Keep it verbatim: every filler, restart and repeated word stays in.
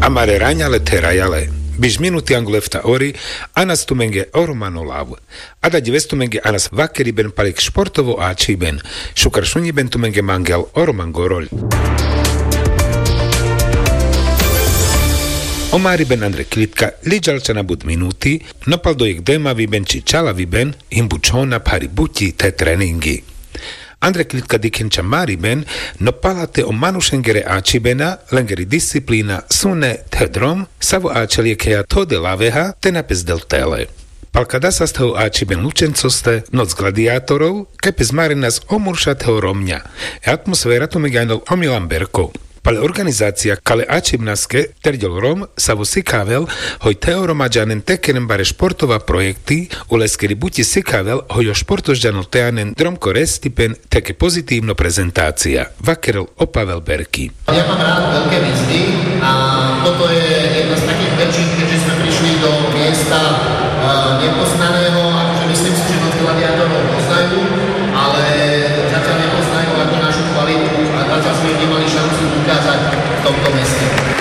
Amare raňa le therajale. Biš minuti angol efta ori. Anas tumenge o romano lav. Ada ďives tumenge anas vakeriben pal jekh športovo ačhiben. Šukar šunjiben tumenge mangel o roman goroľ. O mariben andre klitka liďal čana but minuti. No pal do jekh demaviben či čalaviben. Him bučhona phari buti the treningi. Andre klitka dikhen ča mariben. No pala the o manušengere ačhibena, lengeri disciplina, sune the drom savo ačhel jekheja thode laveha te na pes del tele. Pal kada sas the o ačhiben lučencoste noc gladiatorov, kaj pes marenas o murša the o romňa. E atmosfera tumenge anol o milan berko. Pal e organizacija kale ačhibnaske terďol rom savo sikhavel hoj the o romaďanen te keren bare športova projekti. Uleskeri buti sikhavel hoj o športožďanol te anen drom ko restipen. Theke pozitivno prezentacija vakerel o pavel berki. Ja mám rád velké výzvy a toto je jedna z takých väčších, keďže sme prišli do miesta.